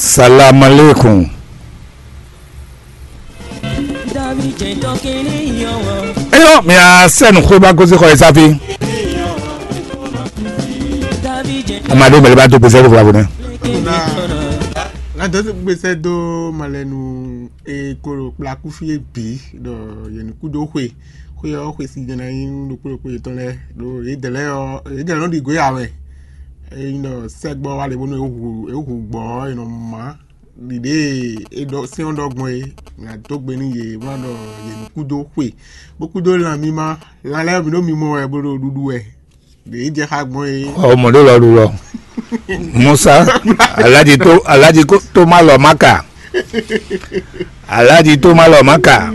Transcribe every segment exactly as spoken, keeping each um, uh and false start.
Salam alaikum. Eyɔ, mia sɛ nu xwé ba gosi xɔ esafi. Amadu mɛlɛ ba do gbèsè fúlafú nɛ. Na na dɔ gbèsè do malɛnu e kolo kplaku fi e bi dɔ yenu kudo xwe xwe ɔ xwe si jɛnɛ nyi ɖokpo ɖokpo yetɔn lɛ do yedɛ lɛ ɔ yedɛ lɛ nɔ ɖi goe awɛ. Eyi nɔ sɛgbɔ wa le bónú ewu ewu gbɔ e nɔ ma ɖiɖe e ɖɔ sɛn ɔ́ ɖɔ gbɔn e nɔ dó gbe nú yě bó ná ɖɔ yě ní kúdó xwe bó kúdó lan mímá. Lan lɛ́ɛ mi ɖó mimɔ wɛ bó ɖo ɖuɖu wɛ. Ɖě jɛ xá gbɔn e. Ɔ mɔ ɖé lɔ ɖu lɔ. Musa, aládìí tó aládìí tó má lɔ má kà. Alhaji tó má lɔ má kà.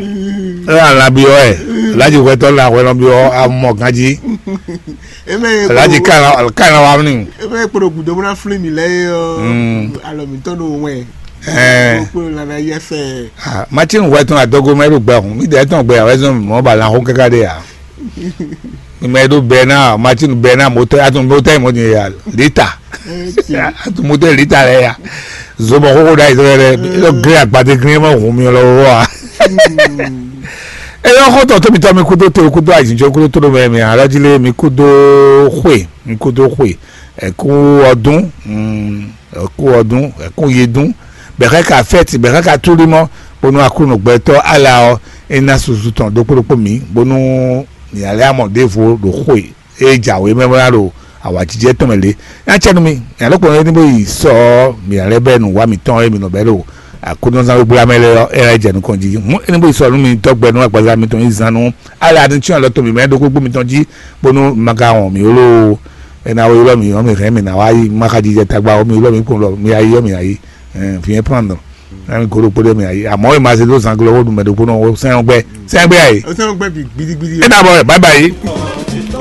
É wá lan byɔ́ wɛ. Alhaji hwɛtɔ́ lan hwɛ lɔ byɔ́ amɔ ganjí. Eme Alhaji kàlá kàlá wa ní. Eme kplɔ gudo muna flin mi lɛ ye ɔ. Alɔ mi tɔn do wɛ. Ɛɛ. Kplɔ nana yɛ fɛ. Matinu hwɛtɔ́ adɔgo mɛ ɖo gbɛ hun. Mi dɛ tɔn gbɛ awɛ zɔn mɔ ba lan xó kaka ɖe ya. Mi mɛ ɖo bɛ na Matinu bɛ na motɛ atu motɛ mɔ ni ya lita. Atu motɛ lita lɛ ya. Zobɔ xóxó ɖa yi sɛbɛ ɖe. Yɔ gre agbadé gre ma hun mi lɔ wɔ a. Eyɔ xɔtɔ tóbi tɔ mi kudo te kudo ajijɔ kudo tó mɛ mi alɔdzi lé mi kudo xwe mi kudo xwe. Ɛku ɔdún. Ɛku ɔdún ɛku yedún. Bɛxɛ ka fɛti bɛxɛ ka túlí mɔ bónú aklúnɔ gbɛtɔ ala ɔ. É ná susu tɔn ɖokpó ɖokpó mi bónú. Ni alɛ amɔ ɖěvo ɖo xwe. E jǎwe mɛ bó ná ɖo awǎjijɛ tɔn mɛ lě. Nya cɛ nú mi, nya lɛ́ kplɔ́n é ní bó yi sɔ ɔ́, mǐ ná lɛ́ bɛ́ nǔ wa mǐtɔn e mǐ nɔ bɛ́ ɖo Aklúnɔzán gbégbla mɛ lɛ́ɛ ɔ́, é ná yi jɛ nukɔn jí. Hǔn é ní bó yi sɔ nú mi tɔ́gbɛ nú agbaza mitɔn yi zán nú alɛ atínsín alɔ tɔn mǐ mɛ ɖokpókpó mitɔn jí, bónú ma ka wɔn mǐ ó loo. É ná wá ylɔ́ mǐ ɔ́, mǐ hɛn mǐ ná wá yi má xa jijɛ tagba ó, mi ylɔ́ mǐ kpɔ́n ɖɔ mi yá yi ɔ́, mi yá yi. Ɛn, vǐ nyɛ́ prendre. Ná mi gǒ ɖokpó ɖé mǐ yá yi. Amɔ̌ è ma zé dó zanglo ó ɖu mɛ ɖokpó nɔ ó sɛ́n ɔ́ gbɛ. Sɛ́n ɔ́ gbɛ yá yi. Ó sɛ́n ɔ́ gbɛ bǐ gbidigbidi. É ná bɔ bye bye.